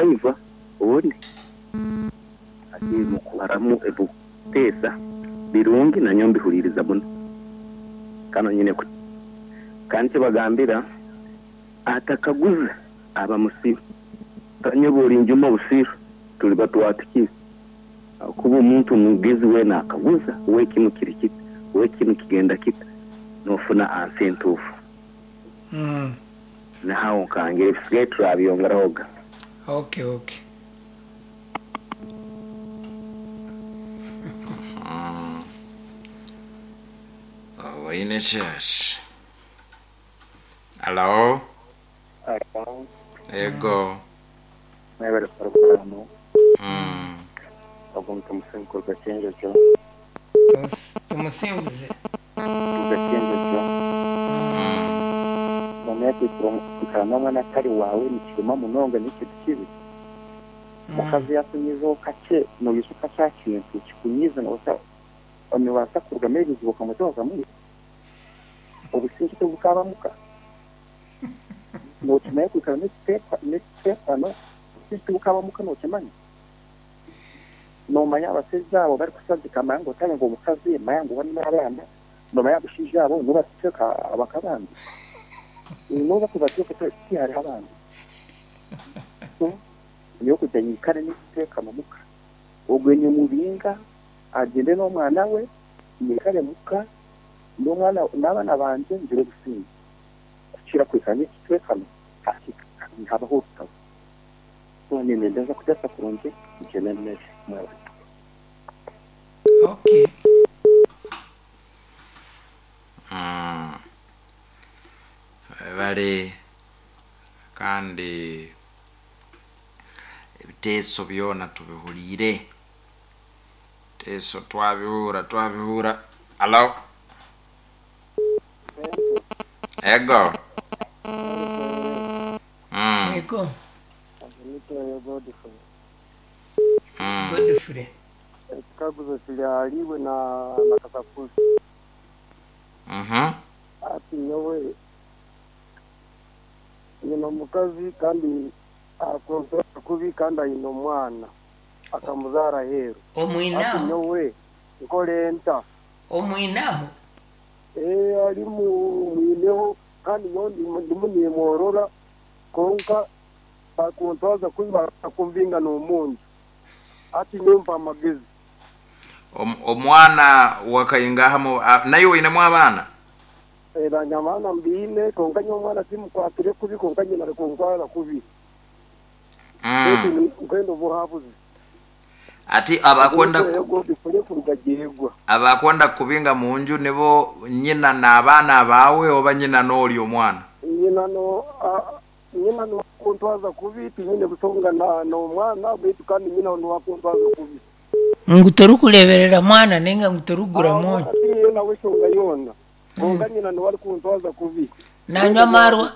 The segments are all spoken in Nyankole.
driver obundi ati mukuharamu ebikuteesa birungi nanyowe mbihuriiriza muno kandi nyine Kandi nkibagambira atakaguza aba musiru. Tanye obu orinjuma obusiru turiba twatukire ahakuba omuntu omugezi weena akaguza we kinu kiri kita, we kinu kigenda kita nofuna ansa entuufu. Nahaho nkangira ebisigaire turabyongerahoga. Okay okay. Oine church. Hello. Hello. Ego. Mwebale puroguramu. Ogu nitumusinga kuruga Kyenjojo. Tumusinguze. Kuruga Kyenjojo. Noomanya kwikara n'omwana atari waawe nikiruma munonga n'ekintu kibi. Omukazi yaakunyiizaho kakye noijuka kya kintu kikunyiize noobaasa nibaasa kurugamu ebizibu okamweta okamwita. Obusingye tibukaba muka. Nookimanya kwikara n'ekiteekano obusingye tibukaba muka nookimanya? Noomanya abashaija abo barikushagika manya ngu otari ngu omukazi manya ngu bari n'abaana noomanya abashaija abo nibo barikuteeka abaka abandi? Nibo barikubateeka tihariho abandi. So nyowe kugira nyikare n'ekiteekano muka ogwe nimubinga agyende n'omwana we nyikare muka n'omwana n'abaana bangye ngire obusingye kukira kwikara n'ekiteekano habaho orutaro. So niinyenda kuteesa kurungi nkyeme emere. Mwebale. Okay. Webale kandi ebiteeso byona tubihuriire. Ebiteeso twabihura twabihura. Hello. Ego. Ego. Godfrey. Ekikaguzo kiri ahariiwe na na Kasakuzi. Ati nyowe nyine omukazi kandi akuntura kubi kandi aine omwana akamuzaara aheeru. Ati Omwinaho? nyowe nkore nta? Omwinaho? Ee ari mwineho kandi nyowe ndimu nimworora kwonka bakuntwaza kubi bakakumbinga n'omunju. Ati nyowe mpa amagezi. Omwana wakaingahamu naye oinemu abaana? Nanye abaana mbiine kwonka nyowe omwana timukwatire kubi kwonka nyina arikuntwara kubi. Beitu nkwenda obuhabuzi. Ati abakwenda Godfrey kuruga Gyegwa. Abakwenda kukubinga munju nibo nyina n'abaana baawe oba nyina n'ori omwana? Nyina no nyina niwe akuntwaza kubi tinyine busonga n'omwana beitu kandi nyina niwe akuntwaza kubi. Ngu torikureeberera mwana nainga ngu torikugura mwonyo? Tinyine nawe eshonga yoona kwonka nyina niwe arikuntwaza kubi. Nanywa amaarwa?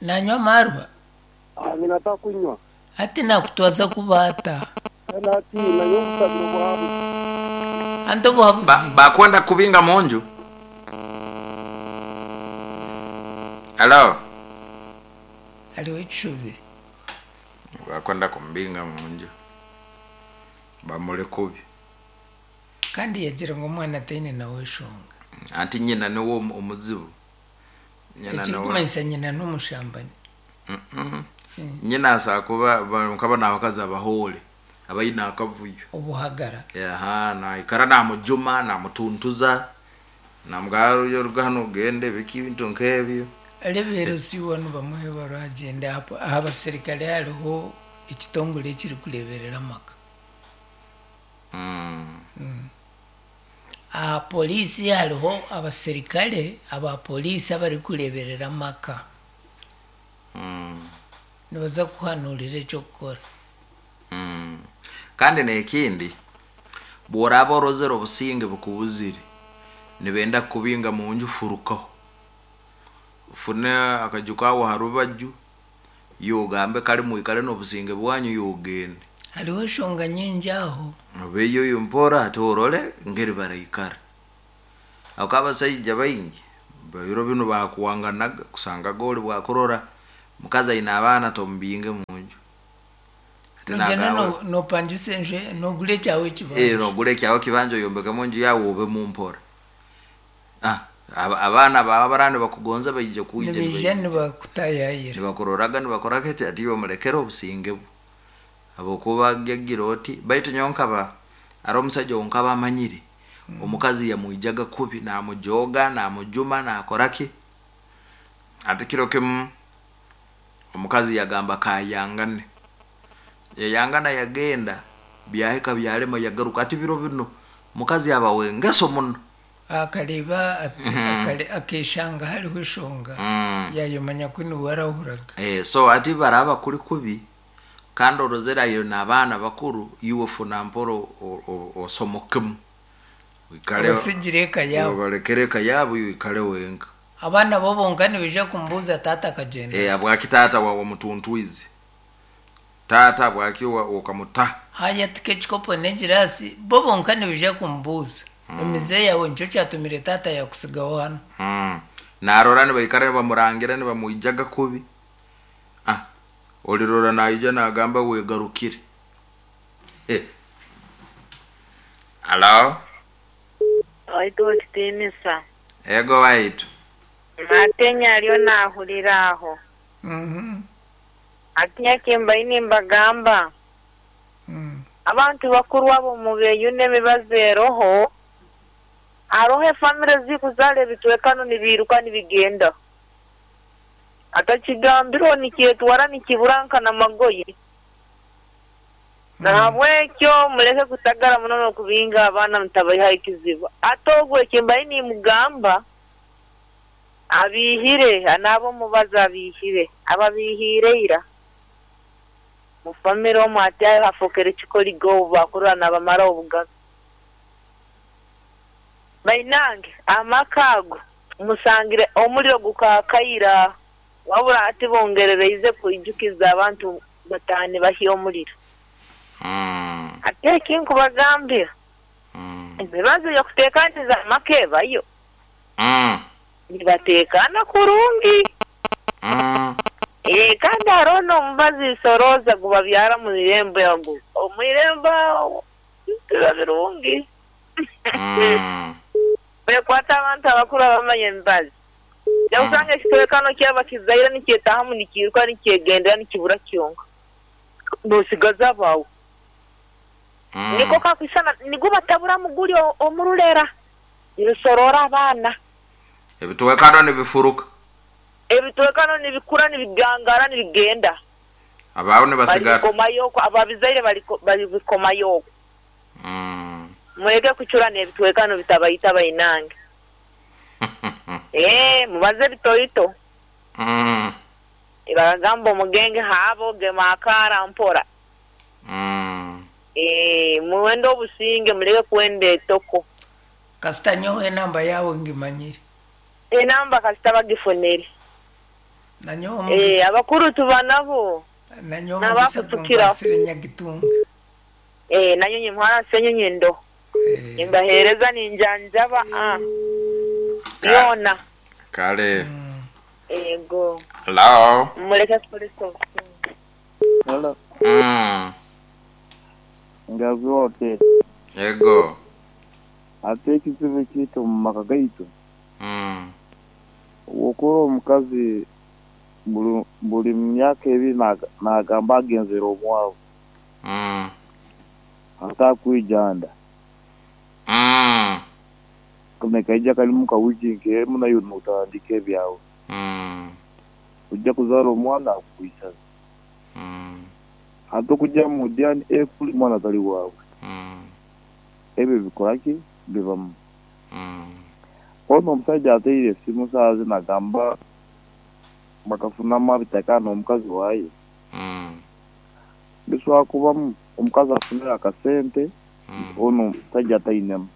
Nanywa amaarwa? Nyina takunywa. Hati nakutwaza kubi ata? Natiina nyowe nkushabira obuhabuzi. Anti obuhabuzi. Bakwenda kukubinga munju? Hello. Hariho ekishobire. Bakwenda kumubinga munju. Bamuri kubi. Kandi yagira ngu omwana taine nawe eshonga. Anti nyina niwe omuzibu. Nyina niwe. Ekirikumanyisa nyina n'omushambani. Nyina asobola kuba nkaba n'abakazi abahoore abaine akavuyo. Obuhagara. Aha, naikara namujuma, namutuntuza, namugamba ruga hanu ogende biki ebintu nk'ebyo. Reero si wanu bamwe baragyenda aha basirikare hariho ekitongore ekirikureeberera amaka. Aha poliisi hariho abasirikare aba poliisi abarikureeberera amaka. Nibaza kukuhanuurira eky'okukora. Kandi n'ekindi, bw'oraaba orozere obusinge bukubuzire, nibenda kukubinga munju furukaho. Ofune akaju kaawe aha rubaju, iwe ogambe kare mwikare n'obusinge bwanyu iwe ogende. Hariho eshonga nyingi aho. Obeyo mpora ate orore ngeri baraikara. Ahabw'okuba abasaija baingi biro binu bakuwanganaga kusangaga ori bwakurora Omukazi aine abaana tomubinge munju. Ati Nogenda nagamba nopangisa enju nogura ekyawe eh ekibanja. Nogura ekyawe ekibanja oyombekemu enju yaawe obemu mpora. Ah, abaana baawe abaraba nibakugonza baija kwija Nibaija nibakutayayira. Nibakuroraga nibakoraga eki ati iwe mulekere obusinge bwe. Habwokuba agira oti baitu nyowe nkaba hariho omusaija ou nkaba amanyire omukazi yamwijaga kubi namujooga namujuma nakora ki ati kiro kimu omukazi yagamba kayangane yayangana yagenda byahika byalema yagaruka ati biro binu omukazi aba w'engeso muno. Akareeba akeshanga hariho eshonga yayemanya ku niwe arahuraga. So ati baraba kuri kubi kandi orozere aine n'abaana bakuru iwe funa mpora osomokemu oikale Obasigire eka yaabo. Obalekere eka yaabo iwe oikale wenka. Abaana bo bonka nibaija kumubuuza taata akagyenda. Habwaki taata wamutuntwize? Taata habwaki okamuta? Haaya tika ekikopo n'egiraasi bo bonka nibaija kumubuuza. Emize yaawe nikyo kyatumire taata yaakutsigaho hanu. Naarora nibaikara nibamurangira nibamwijaga kubi. Ah, orirora naija naagamba weegarukire. Eh. Halo? Waitu wekitiinisa. Ego waitu. Natenya ariyo naahurira aho. Hati kimbaire nimbagamba, abantu bakuru abo mubeyune emibazi eroho, haroho efamire ezikuzaara ebitwekano nibiiruka nibigenda. Atakigambirwe nikyetwara nikibura nka n'amagoye. Nahabwekyo mureke kutagara muno n'okubinga abaana mutabaihaho ekizibu. Ate ogwo ekimbaire nimugamba, abiihire n'aba omubazi abiihire, ababiihiire ira. Mu famire omu hati hafookere kikoligo obu bakurora nabamaraho obugabe. Bainange amaka ago musangire omuriro gukaakaira wabura hati bongerereize kwijukiza abantu bataani bahya omuriro. Hati ekinkubagambira, emibazi y'okuteekaniza amaka ebayo. Nibateekaana kurungi. Kandi hariho n'omubazi sorooza gubabyara omu irembo ago. Omu irembo aho biba birungi. Bekwata abantu abakuru abamanya emibazi. Ojja kusanga ekitwekano kyaba kizaire nikyetaahamu nikiiruka nikyegendera nikibura kyonka. Noosigaza abaawe. Niko kakwisana nigwo bataburamu guri omu rurera nirusoroora abaana. Ebitwekano nibifuruka. Ebitwekano nibikura nibigangara nibigenda. Abaawe nibasigara. Baribikomayo okwo ababizaire baribikomayo okwo. Mureke kucurana ebitwekano bitabaita bainange. Ee, mubaze ebitoito. Bakagamba omugenge haaba ogema akaara mpora. Ee, mwende obusinge mureke kwenda etoko. Kasita nyowe enamba yaawe ngimanyire. Enamba kasita bagifunire. Nanyowe Ee, omugisa. abakuru tuba nabo. Nanyowe omugisa N'abakutukiraho. gunkwasire Nyagitunga. Ee, nanyo nyimwara senyonyi ndo. Nimbaheereza ninjanjaba ah. Yoona. Kale. Ego. Hello. Mureke kukoresa obusinge. Hello. Ngazi wote. Ego. Ate ekizibu ekiita omu maka gaitu. Wokora omukazi buri myaka ebiri nagamba agenzere omwabo. Atakwija nda. Nekaija karimu ka wiiki nk'emwe naiwe notandika ebyawe. Ojja kuzaara omwana akukwisaza. Hati okujja omu DNA kuri omwana tari waawe. Ebyo bikora ki? Bibamu. Hoona omushaija ateire esimu shaaha zinu nagamba bakafunamu abitaka n'omukazi waaye. Bishobora kubamu omukazi afunire akasente hoona omushaija atainemu.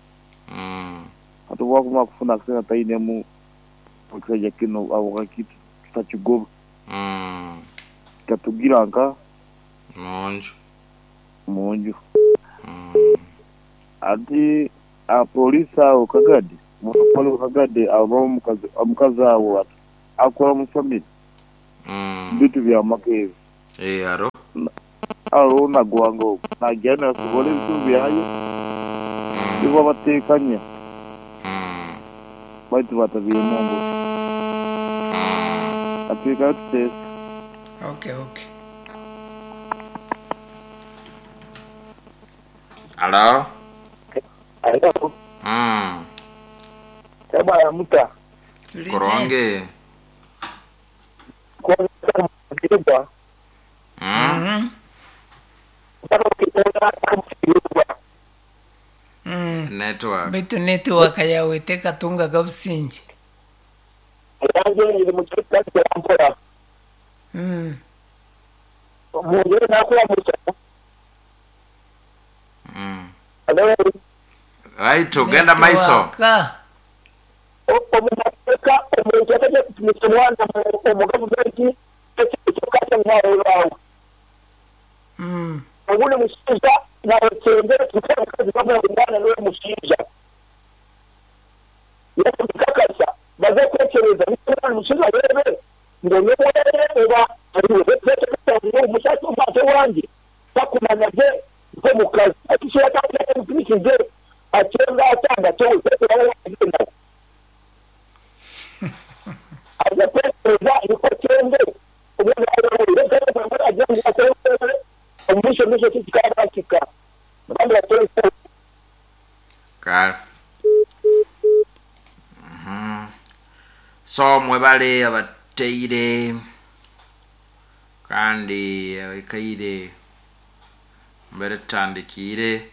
Hati obu akumara kufuna akasente atainemu ekishaija kinu habwaki tutakigoba? Kikatugira nka? Munju. Munju. Hati abapoliisi aho Kagadi, waliwo Kagadi abamu omukazi awo akora omu famire. Bitu byamaka ebi. Eh, haro. Hariho nagwanga ogu nagira nasobora ebizibu byayo nibo batekanya baitu batabiiremu ombuto. Katwikare tuteese. Okay, okay. Halo. Halo. Ebwana muta. Tuli gye. Kurungi. Network. Baitu network yawe tekatungaga busingye. Right, ogenda maiso. Network. Omumateka omuntu atajja kupimisa omwana omu gavumenti ekyoka nwawe obundi mushinja nawe tukora mukazi bamwe omwana niwe mushinja yakakasa baze kwekereza niba mushinja rebe ngo niwe oba ariwe ngo umushaki umwana wanjye bakumanya je nko mu kazi akishira kandi mupimishije acenga atanga cyo nawe aza kwekereza niko cyende So mwebale abateire kandi abaikaire mbere tutandikire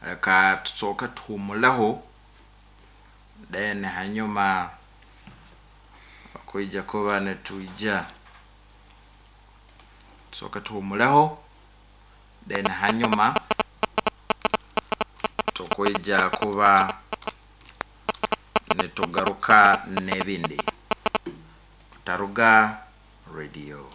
reka tusooke tuhumuleho then hanyuma kwija kuba nitwija tusooke tuhumuleho then hanyuma tukwija kuba nitugaruka n'ebindi. Taruga Radio.